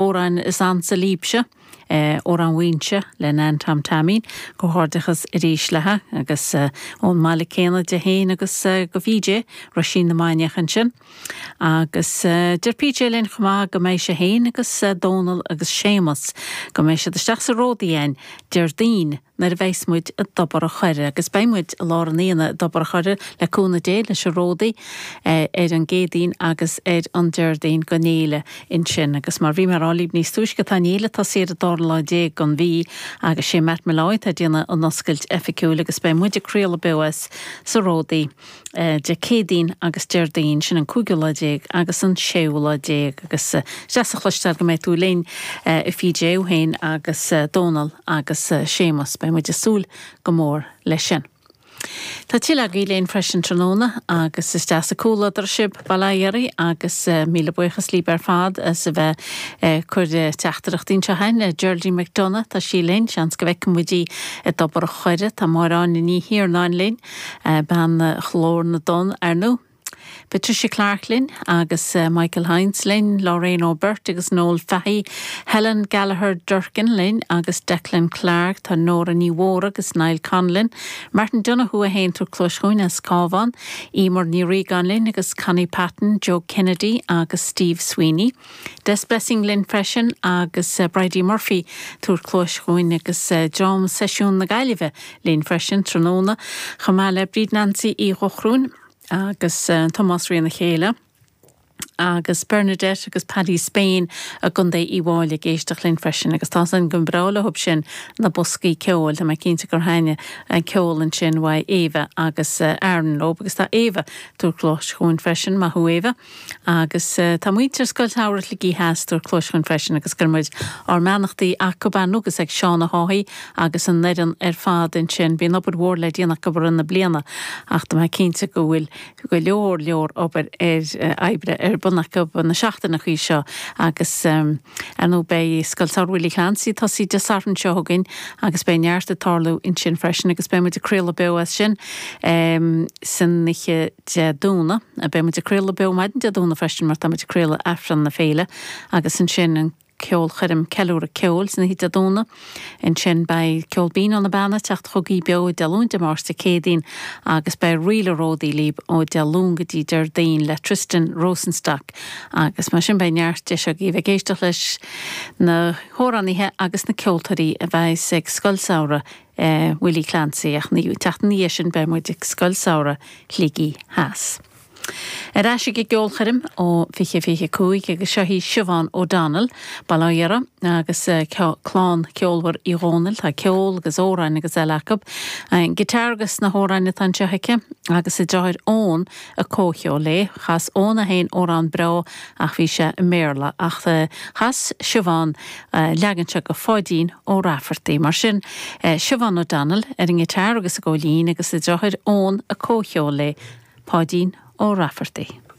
Amhrán is ansa libhse, Amhrán Mhaínse le Nan Tom Taimín. Comhghairdeachas arís léithe agus ón mbaile céanna di féin agus do PJ, Roisín na Mainiach ansin. Agus deir PJ linn chomh maith go mbeidh sé féin agus Dónal agus Séamus, go mbeidh siad isteach sa Ródaí againn Déardaoin nuair a bheas muid i dTobar a' Choire, agus beidh muid i lár an aonaigh i dTobar a' Choire, le cúnamh Dé, leis an Ródaí ar an gCéadaoin agus ar an Déardaoin don fhéile ansin. Agus mar bhí mé a rá libh níos túisce, tá an fhéile tosaithe ar an dara lá déag den mhí agus sé Matt Molloy atá ag déanamh an oscailt oifigiúil agus beidh muid ag craoladh beo as sa Ródaí. Dé Céadaoin agus Déardaoin, sin an cúigiú lá déag agus an séú lá déag agus is deas a chloisteáil go mbeidh tú linn a PJ, thú féin agus Dónal agus Séamus. Beidh muid ag súil go mór leis sin. Tá tuilleadh agaibh linn freisin tráthnóna agus is deas an comhluadar sibh, bail ó Dhia oraibh agus míle buíochas libh ar fad as a bheith ag cur teachtaireachtaí anseo chugainn. Geraldine McDonagh, tá sí linn, seans go bhfeicfidh muid í i dTobar a' Choire. Tá Máire Áine Ní Thiarnáin linn. Bean Ghlór na dTonn, ar ndóigh. Patricia Clarke linn agus Michael Hynes linn, Lorraine O'Burt agus Noel Fahey, Helen Gallagher Durkin linn agus Declan Clarke, tá Nóra Ní Mhórdha agus Niall Conlon, Martin Donoghue é féin ag tabhairt cluais chugainn as Cabhán, Emer Ní Riagáin linn agus Connie Patton, Joe Kennedy agus Steve Sweeney. Des Blessing linn freisin agus Bridie Murphy ag tabhairt cluais chugainn agus dream Seisiún na Gaillimhe linn freisin tráthnóna, chomh maith le Bríd Nancy Uí Dhochrúin agus Tomás Ríona Chéile agus Bernadette agus Paddy Spain i gContae Uíbh Fháilí ag éisteacht linn freisin agus tá san go breá leo sin na boscaí ceoil. Tá mé cinnte gur thaitnigh an ceol ansin uaidh Éabha agus Aaron leo agus tá Éabha ag tabhairt cluais chugainn freisin. Maith thú Éabha. Agus tá muintir Scoil Samhraidh Shligigh Theas ag tabhairt cluais chugainn freisin agus cuireann muid ár mbeannachtaí acu ar ndóigh agus ag Seán Ó hÁthaigh agus an fhoireann ar fad ansin. Bíonn obair mhór le déanamh acu i rith na bliana ach tá mé cinnte go bhfuil go leor leor obair ar oibre ar bun acu na seachtaineachaí seo agus ar ndóigh beidh Scoil Samhraidh Willie Clancy ag tosaí Dé Sathairn seo chugainn agus beidh neart ag tarlú ansin freisin agus beidh muid ag craoladh beo as sin san oíche Dé Domhnaigh. Beidh muid ag craoladh beo maidin Dé Domhnaigh freisin mar tá muid ag craoladh Aifreann na Féile agus ansin an ceolchoirm Ceiliúradh Ceoil san oíche Dé Domhnaigh. Ansin beidh Ceol Binn ó na Beanna ag teacht chugaibh beo Dé Luain Dé Máirt Dé Céadaoin agus beidh Ríle Ródaí libh ó Dé Luain go dtí Déardaoin le Tristan Rosenstock agus mar sin beidh neart deis agaibh ag éisteacht leis na hamhránaithe agus na ceoltóirí a bheas ag Scoil Samhraidh Willie Clancy, ach an tseachtain ina dhiaidh sin beidh muid ag Scoil Samhraidh Shligigh Theas. Ar ais ag an gceolchoirm ó 2025 agus seo í Siobhán O'Donnell, Baile Átha Dheara, agus clann ceolmhar Uí Dhónaill, tá ceol agus amhráin agus eile acu. An guitar agus na hamhráin atá anseo aici agus a deartháir Eoin ag comhcheol léi. Chas Eoin é féin amhrán breá ach bhí sé i mBéarla ach chas Siobhán leagan seo de Pháidín Ó Raifeartaigh. Mar sin, Siobhán O'Donnell ar an ngiotár agus an góilín agus a deartháir Eoin ag comhcheol léi, Páidín Ó Raifeartaigh.